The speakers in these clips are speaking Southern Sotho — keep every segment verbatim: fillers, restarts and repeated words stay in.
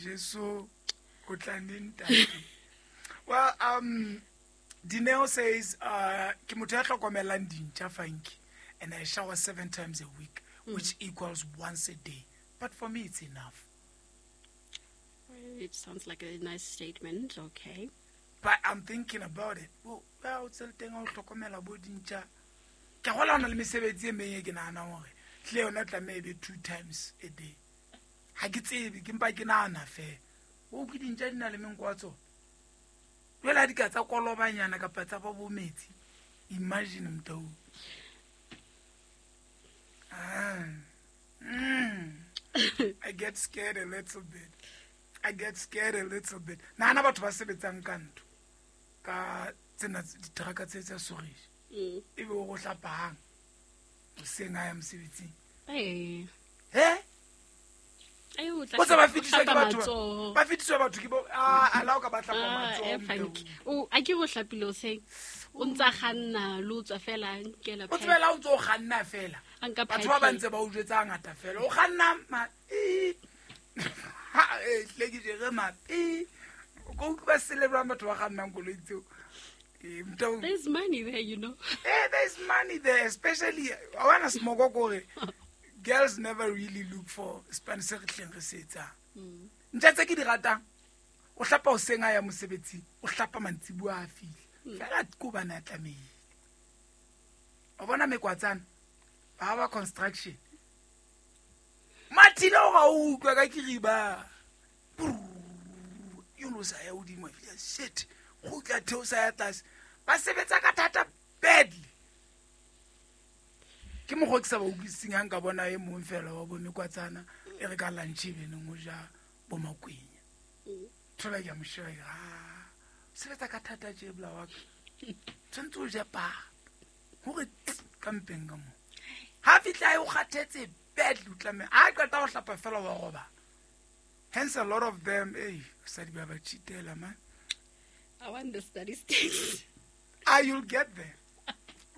Jesu o tla neng ntate? Well, um, Dineo says, uh, ke motho ya hlokomelang dintja funky, and I shower seven times a week, Mm. which equals once a day. But for me, it's enough. Well, it sounds like a nice statement. Okay. But I'm thinking about it. Well, well, o tsele teng ha o hlokomela bo dintja. Ke gola hona le mesebetsi e meng e ke nahanang hore hle yona tlameha e be two times a day. Ha ke tsebe, ke mpa ke nahana feela. O ke dintja di na le menko wa tsona. Jwale ha di ka tsa kolobanyana kapa tsa ba bo metsi. Imagine motho. Ah. Mm. I get scared a little bit. I get scared a little bit. Nahana batho ba sebetsang ka ntho. Ka tsena diteraka tse tsa Sorisha. Mm. Ebe o go hlapa hang. Hoseng ha ya mosebetsing. Ee. He? Ai, o tla O tse ba hlapa- fetiswa ke hlapa batho ba- matsoho. ba fetiswa batho ke bo, ah, a la o ka ba hlapa Ah, matsoho, eh, motho. Funky. O, a ke o hlapile hoseng. O ntsa kganna, le o tswa fela, a nkela O pipe. tsebela o ntso o kganna fela. A nka Batho ba ba pipe. ntse ba o jwetsa hangata fela. O kganna ma, ee. Ha, eh, hle ke jere ma, ee. O ka utlwa ba celebrate batho ba kgannang koloi tseo. Eh, motho- There's money there, you know. Eh, there's money there, especially, I wanna smoke kore. Girls never really look for span se re hleng re se etsang. Mm. Ntja tse ke di ratang, o hlapa hoseng a ya mosebetsing, o hlapa mantsiboya a fihla. Mm. Fela ke hobane a tlamehile. O bona mekwatsana, ba ba construction. Mathile o ga o utlwa ka kiriba. Brrr, o sa ya hodimo, a fihla, shit, kgutla theosa ya tlase. Ba sebetsa ka thata badly. Ke mokgwa ke sa ba utlwisiseng ha nka bona e mong fela wa bo mekwatsana e re ka lunch e beneng o ja bo makwenya. Mm. Thola ke a mo sheba ke re, ah, sebetsa ka thata tje bla wa ka. Tshwanetse o je papa. Hore tsi, ka mpeng ka moo. Ha fihla e o kgathetse badly, o tlameha. Ha qeta ho hlapa fela wa roba. Hence a lot of them, hey, basadi ba ba cheatela, man. I want the statistics. Ah, you'll get there.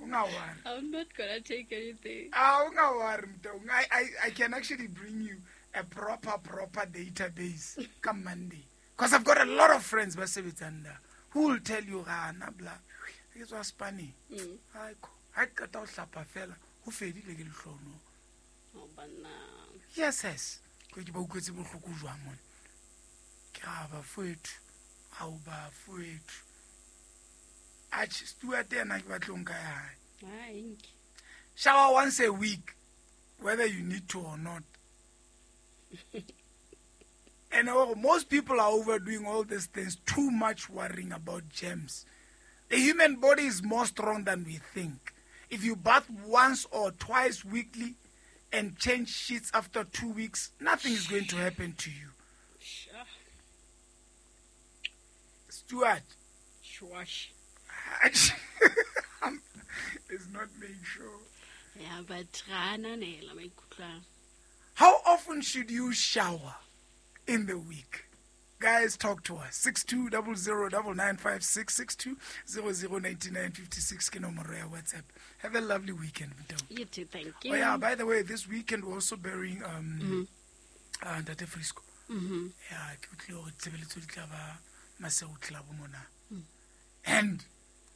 Unga worry. I'm not gonna take anything. Ah, unga worry, Mtaung. I, I, I can actually bring you a proper, proper database come Monday. 'Cause I've got a lot of friends ba sebetsang da who will tell you, ah, na bla, ke tswa Spani. Mm. Hai ko, ha ke qeta ho hlapa fela, ho fedile ke lehlono. Oh, banna. Yes, yes. Ke ke ba utlwetse bohloko jwang mona. Ke ra ba fwethu. Ha o ba fwethu. Atjhe, Stuart yena ke batla ho nka ya hae. Hai, nke. Shower once a week, whether you need to or not. And oh, most people are overdoing all these things, too much worrying about germs. The human body is more strong than we think. If you bath once or twice weekly and change sheets after two weeks, nothing is going to happen to you. Sure. Stuart. Swash. It's not made sure. Yeah, but ra ananela maikutlo a. How often should you shower in the week? Guys, talk to us. six two double zero double nine five six, six two zero zero ninety nine fifty six ke nomoro ya WhatsApp. Have a lovely weekend, Mtau. You too, thank you. Oh yeah, by the way, this weekend we're also burying, um, Mm-hmm. uh, Ntate Frisco. Mm-hmm. Yeah, ke utlwile hore tshebeletso di tla ba Masego Club mona. Mm. And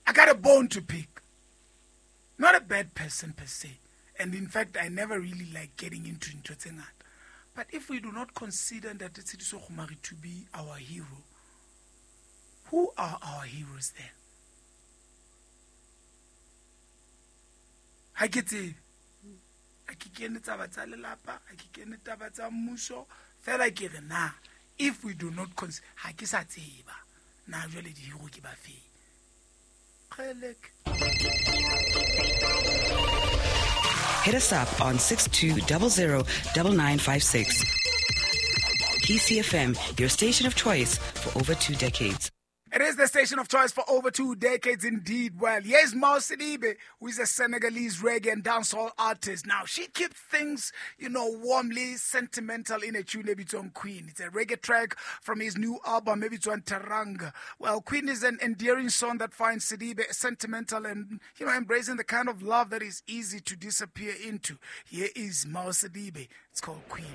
I got a bone to pick. Not a bad person per se. And in fact, I never really like getting into ntho tse ngata. But if we do not consider Ntate Tshediso Kgomari to be our hero, who are our heroes then? Ha ke tsebe. Ha ke kene taba tsa lelapa, ha ke kene taba tsa mmuso, fela ke re na, if we do not consider, ha ke sa tseba, na jwale di-hero ke ba feng? Kgeleke. Hit us up on six two double zero double nine five six. P C F M, your station of choice for over two decades. It is the station of choice for over two decades indeed. Well, here's Mao Sidibe, who is a Senegalese reggae and dancehall artist. Now, she keeps things, you know, warmly sentimental in a tune, maybe it's on Queen. It's a reggae track from his new album, maybe it's on Teranga. Well, Queen is an endearing song that finds Sidibe sentimental and, you know, embracing the kind of love that is easy to disappear into. Here is Mao Sidibe. It's called Queen.